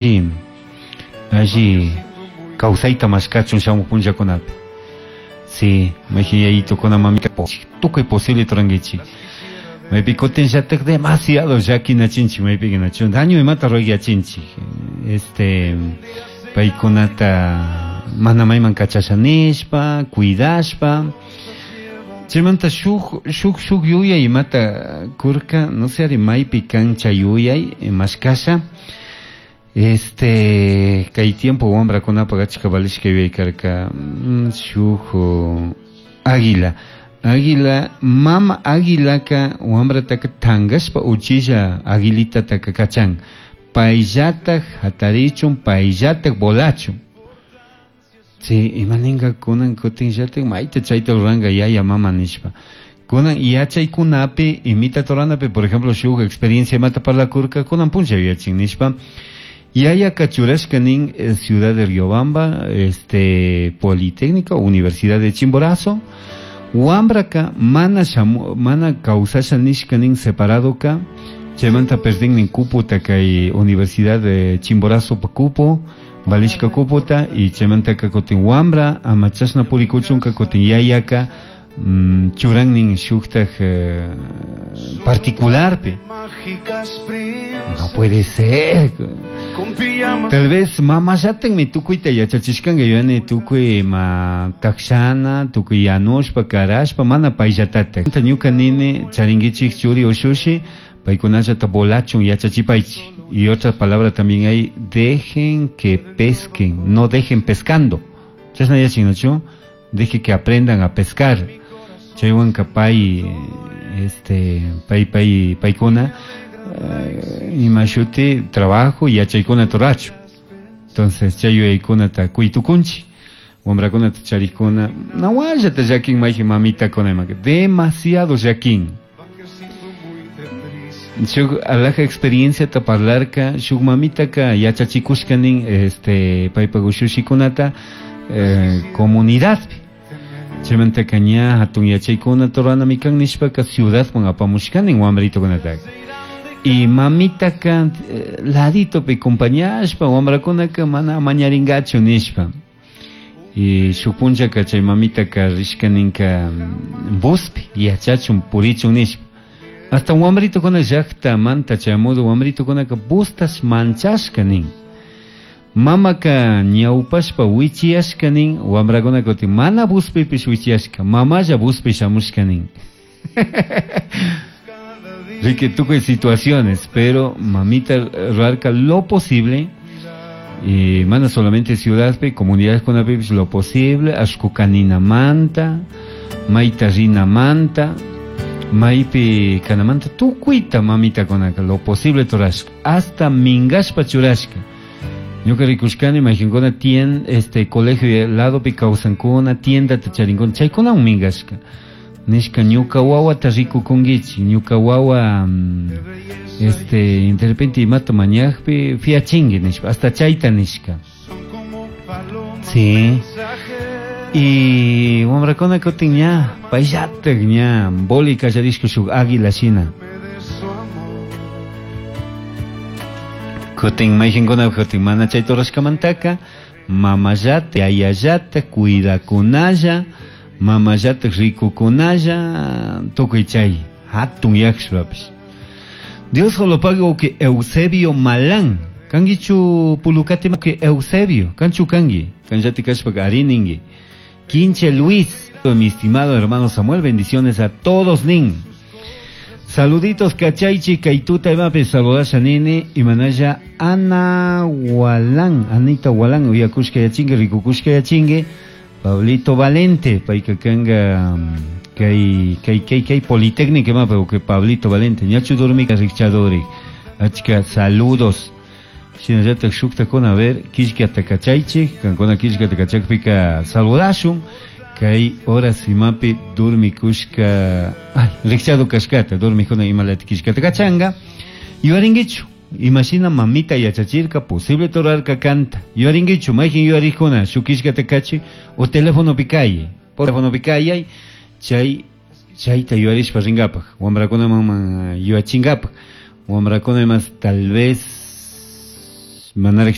Alli kawsayta mashkachun shamuq punllakunapi. Sí, mayqin yayitukuna mamita tukuy posible turankichik. Maypi kutinllatak demasiado llakinachinchik maypiqa nachu daño imata rurayachinchik. Este paykunata mana mayman kachasha nishpa, cuidashpa. Chaymanta shuk shuk shuk yuyay imata kurka, no sé ari maypi kan chay yuyay mashkasha. Este kay tiempo wamrakunapaq achka valishka yuyay karka shuk águila. Águila, mama águilaka wamrataka tankashpa uchilla aguilitataka kachan. Payllatak hatarichun, payllatak volachun. Sí, imaninka kunan kutinllatak mayta chayta ruranka yaya mama nishpa. Kunan yachaykunapi imita toranapi, por ejemplo, shuk experiencia imata parlakurka kunan punlla yuyachin nishpa. Yayaka churashka nin Ciudad de Riobamba, este Politécnica, Universidad de Chimborazo. Wambraka mana shamu, mana kawsasha nishka nin separadoka, chaymanta perdin nin kupota kay Universidad de Chimborazo pa kupo, valishka kupota, y chaymantaka kutin wambra ama chashna purikuchunka kutin yayaka, churan nin shuktaj particularpi. No puede ser. Tal vez mamallatakmi tukuyta yachachishkanka yuyani tukuy ma takshana, tukuy yanushpa, karashpa, mana payllatatak. Ñuka nini charinkichik churi ushushi, paykunallata volachun yachachipaychik. Y otra palabra también hay, dejen que pesquen, no dejen pescando. Chashna yachin, ¿no? Deje que aprendan a pescar. Chaywanka pay, este, pay, pay, paykuna, imashuti trabajo yachaykuna turachu. Entonces chay yuyaykunata kuytukunchik, wamrakunata charikuna, nawallata llakin mayqin mamitakuna imaka, demasiado llakin. Shuk alaja experienciata parlarka, shuk mamitaka yachachikushka nin, este, paypak ushushikunata, comunidadpi. Chaymantaka ña hatun yachaykuna turanami kan nishpaka ciudadman apamushka nin wamritukunataka. Y mamitaka, laditopi acompañashpa wamrakunaka mana mañaringachu nishpa. Y shuk punllaka chay mamitaka rishka ninka buspi yachachun purichun nishpa. Hasta wamritukuna llaktamanta chayamudu wamritukunaka bustas manchashka nin. Mamaka ñawpashpa wichiyashka nin, wamrakunaka kutin mana buspipish wichiyashka, mamalla buspi shamushka nin. Rique tukuy situaciones, pero mamita rarca lo posible, y mana solamente ciudadpi, comunidades con apipis, lo posible, ashkukanina manta, maita rina manta, maipi kanamanta, tukuyta mamita konaka, lo posible torashka, hasta mingashpa churashka. Ñuka rikushkani, mayqinkuna tien, este, colegio ladopi kawsankuna, tiendata charinkuna, chaykuna mingashka. Nishka ñuka wawata rikukunkichik, ñuka wawa, este, de repente imata mañajpi fiachinki nishpa, hasta chayta nishka. Sí. Y wamrakuna kutin ña, payllatak ña, boli kallarishka shuk águila shina. Kutin mayqinkuna kutin mana chay turashkamantaka, mamallata, yayallata, cuidakunalla, mamallata rikukunalla, tukuy chay hatun yakshpapish. Dios lo pago que Eusebio Malán, kangichu pulukati que Eusebio, kanchu kangi, kanllati kashpa ariningi. Quinche Luis, mi estimado hermano Samuel, bendiciones a todos nin. Saluditos kachaichi kaituta imapi saludasha nini imanaya Ana Walán, Anita Walán, uyakushka yachingue, rikukushka yachingue, Pablito Valente, paika kanga kay kay kay kay Politécnica imapi que Pablito Valente, ñachu dormika rikchadori. Achka saludos. Shinallatak shuktakuna, a ver, killkata kachaichi, kankuna killkata kachakpika saludashun. Kay horas imapi durmikushka, ay, rikchado kashkata, durmikuna imalati killkata kachanga. Yuaringuichu, imagina mamita yachachirka, posible torarka canta. Yuaringuichu, mayqin yuarikuna, shuk killkata kachi, o teléfono pikaye, por teléfono pikaye, chay, chayta yuarishpa ringapaj, wamrakuna mama yuachingapak, wamrakuna más tal vez Manaraj.